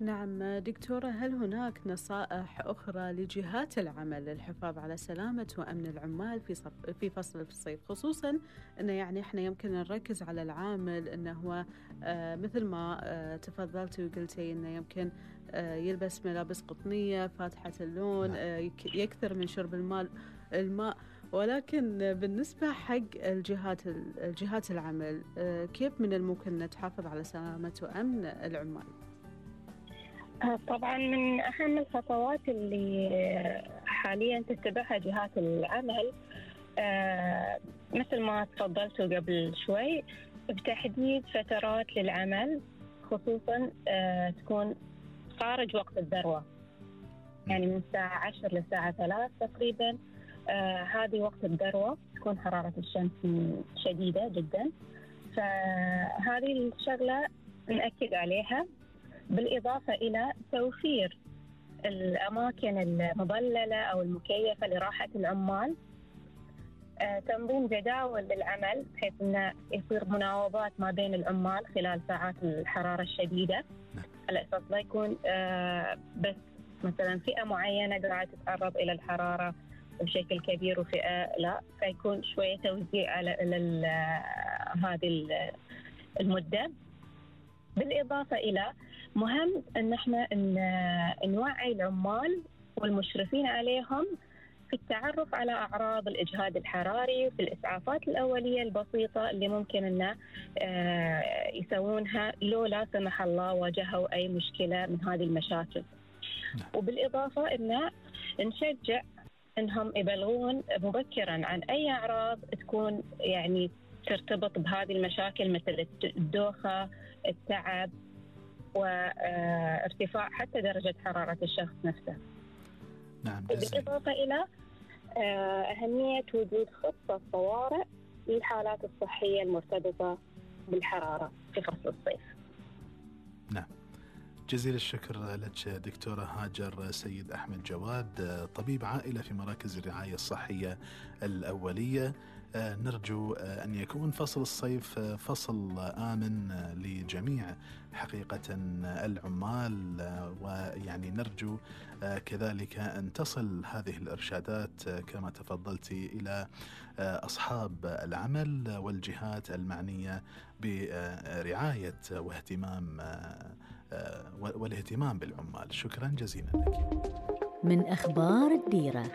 نعم دكتورة، هل هناك نصائح أخرى لجهات العمل للحفاظ على سلامة وأمن العمال في فصل الصيف، خصوصا أنه يعني إحنا يمكن نركز على العامل أنه هو مثل ما تفضلتي وقلتي أنه يمكن يلبس ملابس قطنية فاتحة اللون، يكثر من شرب الماء، ولكن بالنسبة حق الجهات العمل، كيف من الممكن نتحافظ على سلامة وأمن العمال؟ طبعا من أهم الخطوات اللي حاليا تتبعها جهات العمل مثل ما تفضلتوا قبل شوي بتحديد فترات للعمل، خصوصا تكون خارج وقت الذروة، يعني من الساعة 10 للساعة 3 تقريبا. هذه وقت الذروة تكون حرارة الشمس شديدة جدا، فهذه الشغلة نأكد عليها، بالإضافة إلى توفير الأماكن المظللة أو المكيفة لراحة العمال، تنظيم جداول للعمل بحيث أنه يصير مناوبات ما بين العمال خلال ساعات الحرارة الشديدة، على أساس لا يكون بس مثلا فئة معينة قاعدة تتعرض إلى الحرارة بشكل كبير وفئة لا، فيكون شوية توزيع على هذه المدة. بالإضافة إلى مهم أن احنا نوعي العمال والمشرفين عليهم في التعرف على أعراض الإجهاد الحراري وفي الإسعافات الأولية البسيطة اللي ممكن أن يسوونها لو لا سمح الله واجهوا أي مشكلة من هذه المشاكل. وبالإضافة أن نشجع أنهم يبلغون مبكرا عن أي أعراض تكون يعني ترتبط بهذه المشاكل، مثل الدوخة، التعب، وارتفاع حتى درجة حرارة الشخص نفسه. نعم. بالإضافة إلى أهمية وجود خطة طوارئ للحالات الصحية المرتبطة بالحرارة في فصل الصيف. نعم، جزيل الشكر لك دكتورة هاجر سيد أحمد جواد، طبيب عائلة في مراكز الرعاية الصحية الأولية. نرجو أن يكون فصل الصيف فصل آمن لجميع حقيقة العمال، ويعني نرجو كذلك أن تصل هذه الإرشادات كما تفضلتي إلى أصحاب العمل والجهات المعنية برعاية والاهتمام بالعمال. شكرا جزيلا لك. من أخبار الديرة.